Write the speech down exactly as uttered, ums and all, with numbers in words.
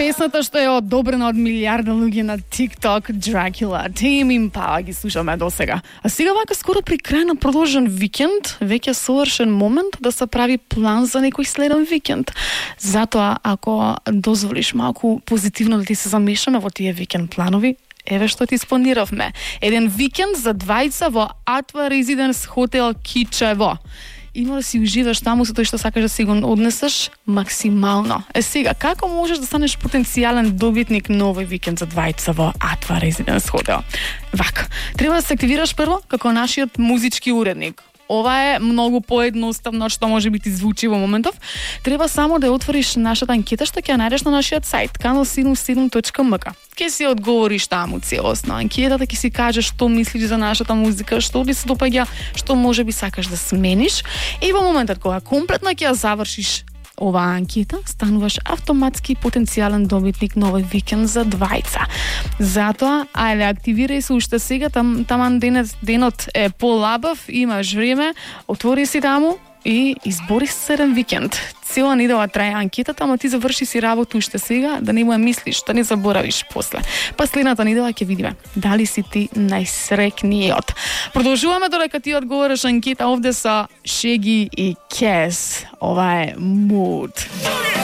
Песната што е одобрена од милиарда луѓе на TikTok, Dracula, Tame Impala ги слушаме до сега. А сега вака скоро при крај на продолжен викенд, веќе совршен момент да се прави план за некој следен викенд. Затоа, ако дозволиш малку позитивно да ти се замешаме во тие викенд планови, еве што ти спланиравме. Еден викенд за двајца во Атва Резиденс хотел Кичево. Има да си уживаш таму со тој што сакаш да си го однесеш максимално. Е сега, како можеш да станеш потенцијален добитник на овој викенд за двајца во Атва Резиденс хотел? Вака, треба да се активираш прво како нашиот музички уредник. Ова е многу поедноставно што може би ти звучи во моментов. Треба само да ја отвориш нашата анкета што ќе ја најдеш на нашиот сајт канал седумдесет и седум точка ем ка. Ќе си одговориш таму целосно анкетата, ќе си кажеш што мислиш за нашата музика, што ти се допаѓа, што може би сакаш да смениш, и во моментот кога комплетно ќе ја завршиш оваа анкета, стануваш автоматски потенцијален добитник на овој викенд за двајца. Затоа, ајде, активирај се уште сега, там, таман денот, денот е полабав, имаш време, отвори си таму и избори се еден викенд. Цела недела трае анкетата, ама ти заврши си работа уште сега, да не му ја мислиш, да не заборавиш после. Па следната недела ќе видиме дали си ти најсрекниот. Продолжуваме додека ти одговориш анкета овде со Шеги и Кес. Ова е Mood.